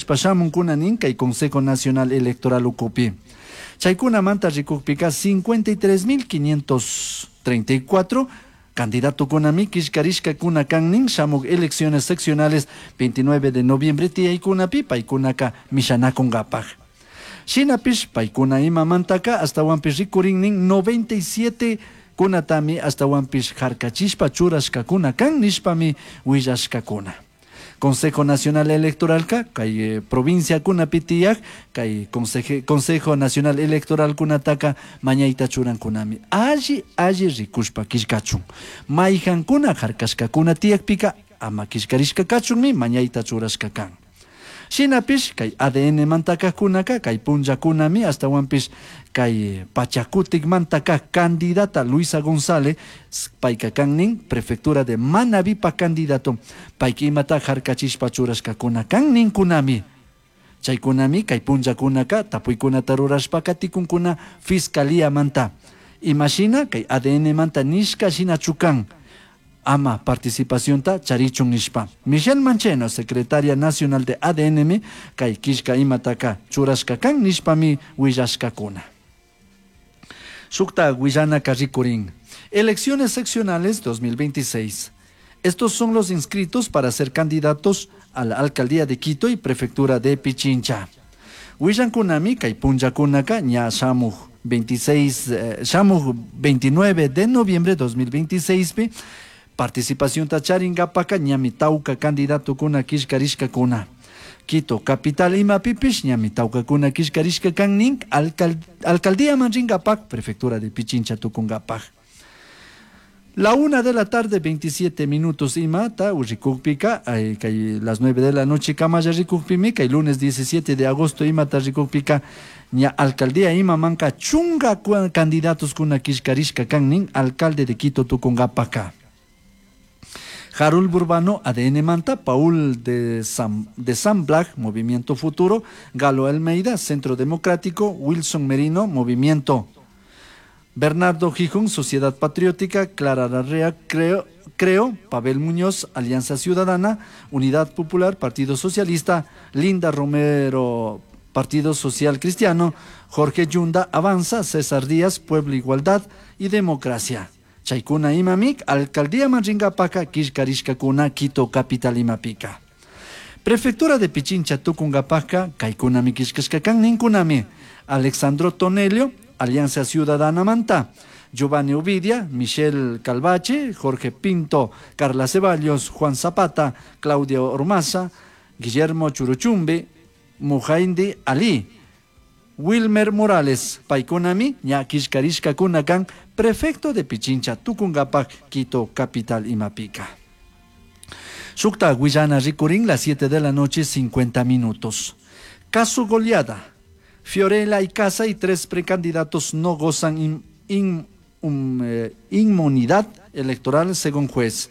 killkashpa shamunkuna nin kay Consejo Nacional Electoral ukupi. Chaykunamanta rikukpika 53.534 candidatokunami killkarishkakuna kan nin shamuk elecciones seccionales 29 de noviembre tiyaykunapi paykunaka mishanakunkapaj. Shinapish paykuna imamantaka ashtawanpish rikurin nin 97 kunatami ashtawanpish harkachishpa churashkakuna kan nishpami willashkakuna. Consejo Nacional Electoralka kay provinciakunapi tiyak kay Consejo Nacional Electoral kunataka mañayta churankunami alli alli rikushpa killkachun. Mayhankuna harkashkakuna tiyakpika ama killkarishka kachunmi mañayta churashka kan. Shinapish kay ADN mantakajkunaka kay punllakunami ashtawanpish kay Pachakutik mantaka candidata Luisa González payka kan nin prefectura de Manabipa candidato payka imata harkachishpa churashkakuna kan ninkunami. Chaykunami kay punllakunaka tapuykunata rurashpa katikunkuna fiscalía manta. Imashina kay ADN manta nishka shinachu kan ama participacionta charichun nishpa. Michelle Mancheno, secretaria nacional de ADN, kay killka imataka churashka kan nishpami willashkakuna. Shukta willanaka rikurin. Elecciones seccionales 2026. Estos son los inscritos para ser candidatos a la alcaldía de Quito y prefectura de Pichincha. Willankunami kay punllakunaka ña shamuj 26, shamuj 29 de noviembre 2026 pi participación charingapaka ñami tawka candidatokuna killkarishkakuna. Quito capital imapipish ñami tawkakuna killkarishka kan nin alcaldía man ringapak prefectura de Pichincha tukungapak. La 1 de la tarde, 27 minutos imata, rikukpika, ay, kay las 9 de la noche kamalla rikukpimi, kay lunes 17 de agosto imata rikukpika, ña alcaldía imamanka chunga candidatos kuna killkarishka kan nin alcalde de Quito tukungapaka. Harul Burbano, ADN Manta, Paul de San Blag, Movimiento Futuro, Galo Almeida, Centro Democrático, Wilson Merino, Movimiento Bernardo Gijón, Sociedad Patriótica, Clara Larrea, Creo, Pavel Muñoz, Alianza Ciudadana, Unidad Popular, Partido Socialista, Linda Romero, Partido Social Cristiano, Jorge Yunda, Avanza, César Díaz, Pueblo Igualdad y Democracia. Chaykuna imamik, Alcaldía Manringapaka, killkarishkakuna, Quito Capital imapika. Prefectura de Pichincha, Tucungapaka, Kaikunami killkashkakan ninkunami, Alexandro Tonelio, Alianza Ciudadana Manta, Giovanni Ovidia, Michelle Calvache, Jorge Pinto, Carla Ceballos, Juan Zapata, Claudia Ormaza, Guillermo Churuchumbe, Mujaindi Ali, Wilmer Morales, Paykunami, ña killkarishkakunakan, prefecto de Pichincha, Tucungapac, Quito, capital imapika. Shukta willana rikurin, las 7 de la noche, 50 minutos. Caso goleada. Fiorella Icaza y 3 precandidatos no gozan inmunidad electoral según juez.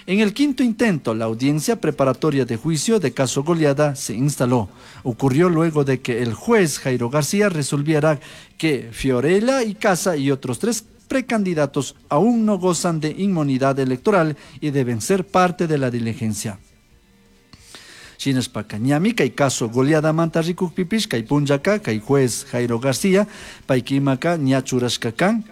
En el quinto intento, la audiencia preparatoria de juicio de caso goleada se instaló. Ocurrió luego de que el juez Jairo García resolviera que Fiorella Icaza y otros 3 precandidatos aún no gozan de inmunidad electoral y deben ser parte de la diligencia. Shinashpaka ñami kay caso goleada manta rikukpipish kay punllaka kay juez Jairo García paykimaka ña churashka kan.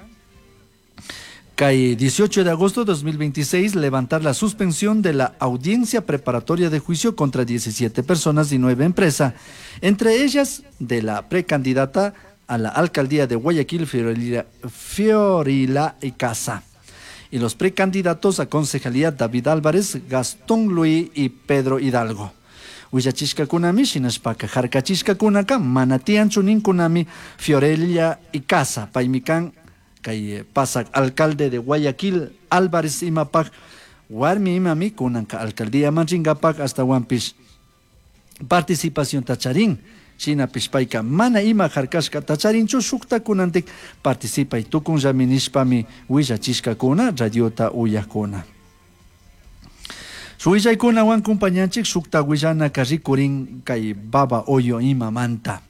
Kay 18 de agosto de 2026 levantar la suspensión de la audiencia preparatoria de juicio contra 17 personas y 9 empresas, entre ellas de la precandidata a la alcaldía de Guayaquil, Fiorella Icaza, y los precandidatos a concejalía David Álvarez, Gastón Luis y Pedro Hidalgo. Willachishkakunami, shinashpaka harkachishkakunaka, mana tiyanchu ninkunami, Fiorella Icaza, paymi kan, kay pasak alcalde de Guayaquil, Álvarez imapak, warmi imami, kunanka alcaldía manchingapak, hasta wampish participación tacharín, shinapish payka mana ima harkashka tacharinchu, shukta kunantik participay tukunllami nishpami willachishkakuna, radiota uyakuna. Suillaykunawan kumpañanchik shukta willanaka rikurin kay Baba Hoyo imamanta.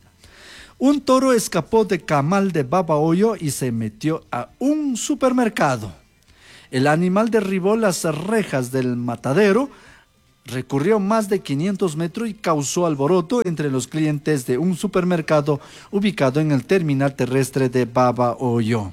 Un toro escapó de Camal de Baba Hoyo y se metió a un supermercado. El animal derribó las rejas del matadero. Recorrió más de 500 metros y causó alboroto entre los clientes de un supermercado ubicado en el terminal terrestre de Babahoyo.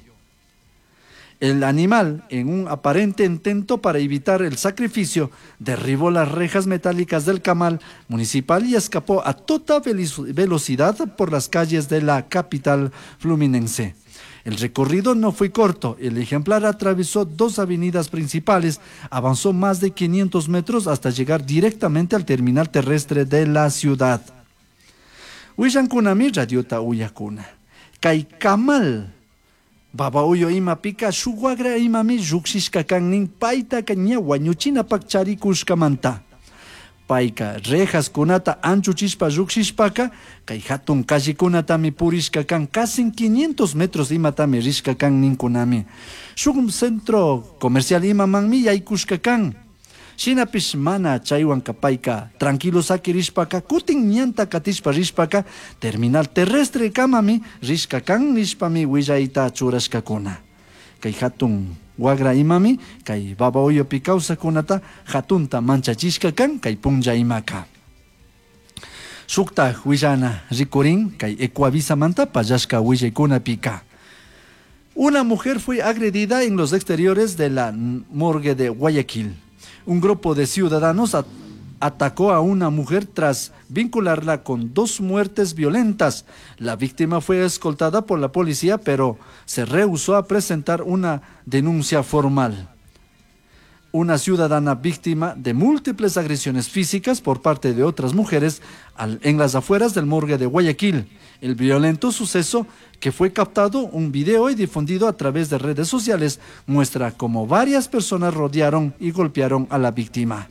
El animal, en un aparente intento para evitar el sacrificio, derribó las rejas metálicas del camal municipal y escapó a toda velocidad por las calles de la capital fluminense. El recorrido no fue corto. El ejemplar atravesó dos avenidas principales, avanzó más de 500 metros hasta llegar directamente al terminal terrestre de la ciudad. Willancunami radiota uyakuna. Kay kamal Babahoyo imapika shuk wagra imami llujshishka kan nin paytaka ña wañuchinapak charikushkamanta. Payka rejaskunata anchuchishpa llujshishpaka kay hatun callekunatami purishka kan casi 500 metros imatami rishka kan ninkunami. Shuk centro comercial imamanmi yaykushka kan. Shinapish mana chaywanka payka tranquilo sakirishpaka kutin ñanta katishpa rishpaka terminal terrestre kamami rishka kan nishpami willayta churashkakuna. Kay hatun wagra imami kay Babahoyopi kawsakkunata hatunta manchachishka kan kay punlla imaka. Shuktaj willana rikurin kay Ecuavisamanta pallashka willaykunapika. Una mujer fue agredida en los exteriores de la morgue de Guayaquil. Un grupo de ciudadanos atacó a una mujer tras vincularla con dos muertes violentas. La víctima fue escoltada por la policía, pero se rehusó a presentar una denuncia formal. Una ciudadana víctima de múltiples agresiones físicas por parte de otras mujeres en las afueras del morgue de Guayaquil. El violento suceso, que fue captado un video y difundido a través de redes sociales, muestra cómo varias personas rodearon y golpearon a la víctima.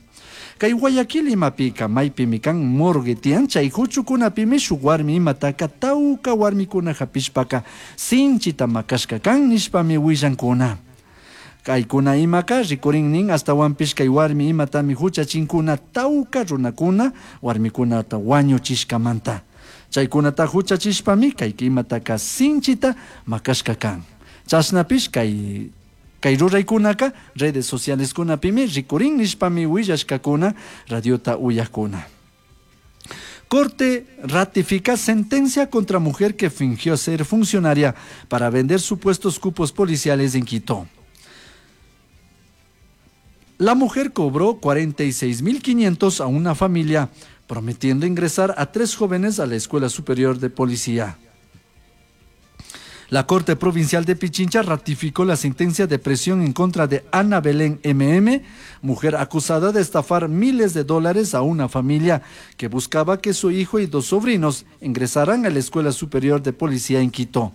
Kay Guayaquil imapika maypimi kan morgue tiyan chay huchukunapimi shuk warmi imataka tawka warmikuna hapishpaka sinchita makashka kan nishpami willankuna. Kaykuna imaka rikurin nin astawanpish kay warmi imatami huchachinkuna tawka runakuna warmikunata wañuchishkamanta. Chaykunata huchachishpami kay imataka sinchita makashka kan. Chashnapish kay ruraykunaka redes socialeskunapimi rikurin nishpami willashkakuna radiota uyakuna. Corte ratifica sentencia contra mujer que fingió ser funcionaria para vender supuestos cupos policiales en Quito. La mujer cobró 46.500 a una familia, prometiendo ingresar a 3 jóvenes a la Escuela Superior de Policía. La Corte Provincial de Pichincha ratificó la sentencia de prisión en contra de Ana Belén MM, mujer acusada de estafar miles de dólares a una familia que buscaba que su hijo y 2 sobrinos ingresaran a la Escuela Superior de Policía en Quito.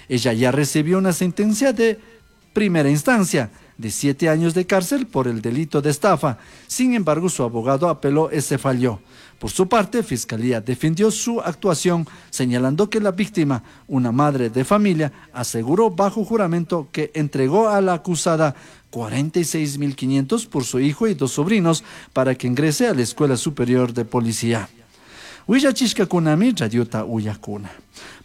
Ella ya recibió una sentencia de primera instancia de 7 años de cárcel por el delito de estafa. Sin embargo, su abogado apeló ese fallo. Por su parte, Fiscalía defendió su actuación, señalando que la víctima, una madre de familia, aseguró bajo juramento que entregó a la acusada 46.500 por su hijo y 2 sobrinos para que ingrese a la Escuela Superior de Policía. Willachishkakunami radiota uyakuna.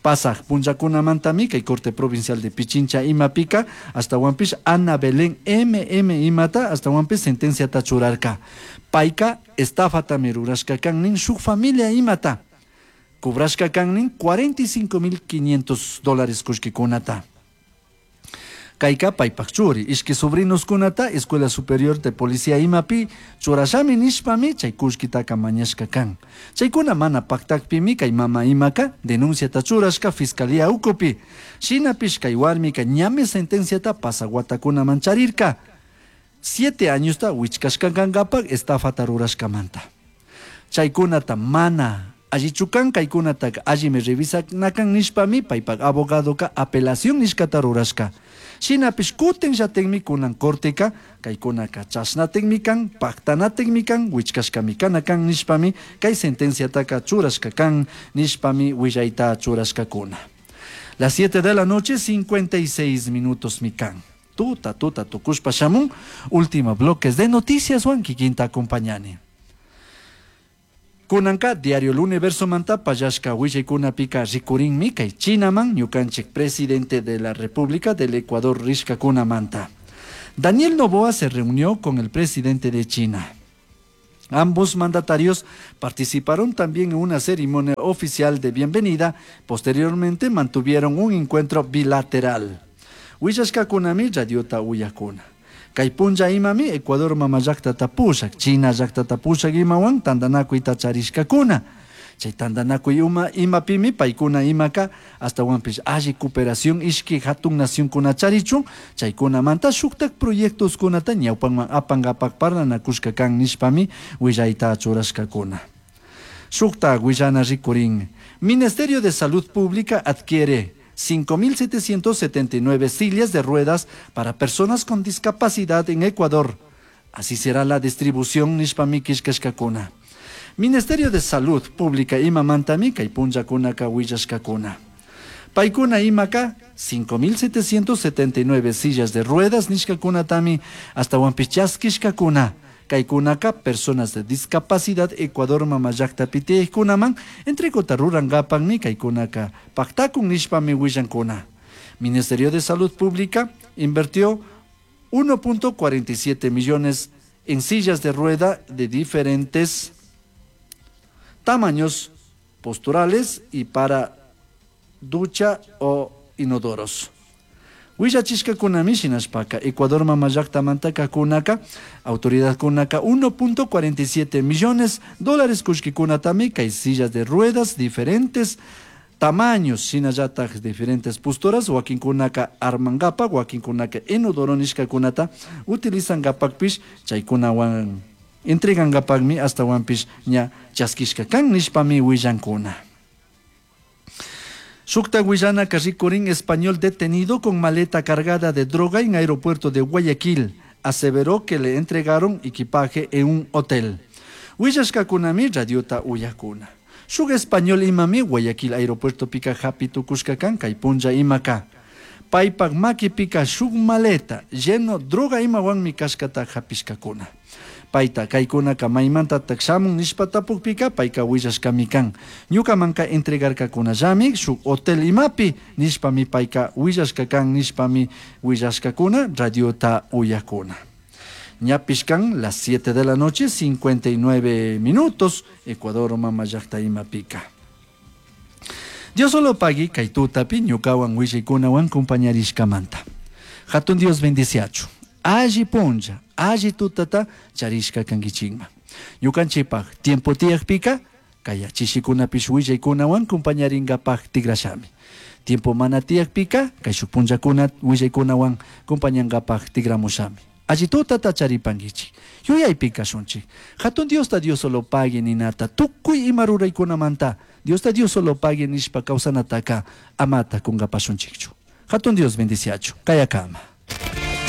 Pasaj punllakunamantami kay Corte Provincial de Pichincha imapika astawanpish Ana Belén MM imata astawanpish sentenciata churarka. Payka estafatami rurashka kan nin shuk familia imata. Cobrashka kan nin 45.500 dólares kullkikunata. Kayka paypak churi ishki sobrinos kunata Escuela Superior de Policía imapi churashami nishpami chay kullkitaka mañashka kan. Chaykuna mana paktakpimi kay mama imaka denunciata churashka Fiscalía ukupi. Shinapish kay warmika ñami sentenciata pasaguatakunaman charirka. 7 añosta wichkashka kankapak estafata rurashkamanta. Chaykunata mana allichukan kaykunataka allimi revisanakan nishpami paypak abogadoka apelación nishkata rurashka. Shinapish kutin llatinmi kunan corteka kaykunaka chashnatinmi kan paktanatinmi kan wichkashkami kana kan nishpami kay sentenciataka churashka kan nishpami willayta churashkakuna. Las 7 de la noche, 56 minutos mi kan. Tuta, tuta, tukushpa shamun. Último bloques de noticias, Juan Kikinta acompañani. Kunanka diario El Universo manta payashka willaykuna-pika rikurinmi kay Chinaman ñukanchik presidente de la República del Ecuador rishkakuna manta. Daniel Noboa se reunió con el presidente de China. Ambos mandatarios participaron también en una ceremonia oficial de bienvenida. Posteriormente mantuvieron un encuentro bilateral. Willashkakunami radiota uyakuna. Kay punlla imami Ecuador mama llaktata pushak, China llaktata pushak imawan tantanakuyta charishkakuna. Chay tantanakuy uma imapimi paykuna imaka ashtawanpish alli cooperación ishki hatun nacionkuna charichun chaykunamanta shuktak proyectoskunata ñawpanman apankapak parlanakushka kan nishpami willayta churashkakuna. Shuktak willana rikurin. Ministerio de Salud Pública adquiere 5.779 sillas de ruedas para personas con discapacidad en Ecuador. Así será la distribución nishpami killkashkakuna. Ministerio de Salud Pública imamantami kay punllakunaka willashkakuna. Paykuna imaka 5.779 sillas de ruedas nishkakunatami ashtawanpish chaskishkakuna. Kaykunaka personas de discapacidad Ecuador mama llaktapi tiyakkunaman entregota rurankapakmi kaykunaka paktakun nishpami willankuna. Ministerio de Salud Pública invirtió 1.47 millones en sillas de rueda de diferentes tamaños posturales y para ducha o inodoros. Willachishkakunami shinashpaka Ecuador mama llaktamanta kunaka autoridadkunaka 1.47 millones dólares kullkikunatami kay sillas de ruedas diferentes tamaños shinallatak diferentes posturas wakinkunaka armankapak wakinkunaka inodoro nishkakunata utilizankapakpish chaykunawan entregankapakmi ashtawanpish ña chaskishka kan nishpami willankuna. Shukta willanaka rikurin español detenido con maleta cargada de droga en aeropuerto de Guayaquil. Aseveró que le entregaron equipaje en un hotel. Willashkakunami radiota uyakuna. Shuk español imami Guayaquil aeropuerto pika hapi tukushka kan kay punlla imaka. Paypak makipika shuk maleta lleno droga imawanmi kashkata hapishkakuna. Payta kaykunaka maymantatak shamun nishpa tapukpika payka willashkami kan. Ñukamanka entregarkakunallami shuk hotel imapi nishpami payka willashka kan nishpami willashkakuna radiota uyakuna. Ñapish kan las 7 de la noche 59 minutos Ecuador mama llakta imapika. Dios solo pagui kay tutapi ñukawan willaykunawan compañarishkamanta. Hatun Dios bendiciachu. Alli punlla, alli tutata charishka kankichikman. Ñukanchikpak tiempo tiyakpika kay chishikunapish willaykunawan compañarinkapak tikrashami. Tiempo mana tiyakpika kay shuk punllakuna willaykunawan compañankapak tikramushami. Alli tutata charipankichik. Yuyaypi kashunchik. Hatun Diosta Dios solo pagui ninata tukuy ima ruraykunamanta Diosta Dios solo pagui nishpa kawsanataka amata kunkapashunchikchu. Hatun Dios bendiciachu. Kayakama.